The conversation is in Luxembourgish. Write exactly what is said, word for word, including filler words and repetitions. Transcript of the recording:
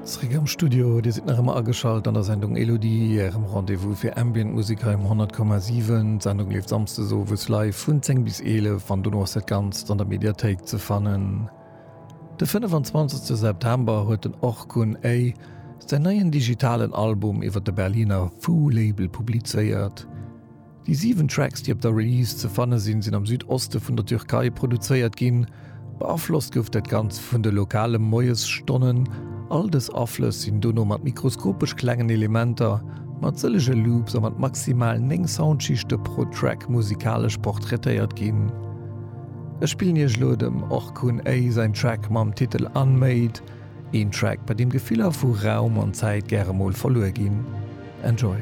Zréck am Studio, Dir sidd nach ëmmer ageschalt an der Sendung Elodie, Ärem Rendez-vous fir Ambient Musek hei um honnert Komma siwen. D'Sendung leeft samsdes owes live vun zéng bis eelef an dono ass dat Ganzt an der Mediathéik ze fannen. De fënnefenzwanzegste September huet den Orkun A. säin neien digitalen Album iwwer de Berliner Foo Label publizéiert. Déi siwen Tracks, déi op der Release ze fanne sinn, sinn am Südoste vun der Türkei produzéiert ginn. Beaflosst gouf dat Ganzt vun de lokale Moiesstonnen. All dës Aflëss sinn dono mat mikroskopesch klengen Elementer, mat sëllege Loops a mat maximal néng Soundschichte pro Track musikalesch portraitéiert ginn. Ech spillen iech elo dem Orkun A säin Track mam Titel Unmade, een Track, bei deem Gefiller vu Raum an Zäit gäre mol verluer ginn. Enjoy!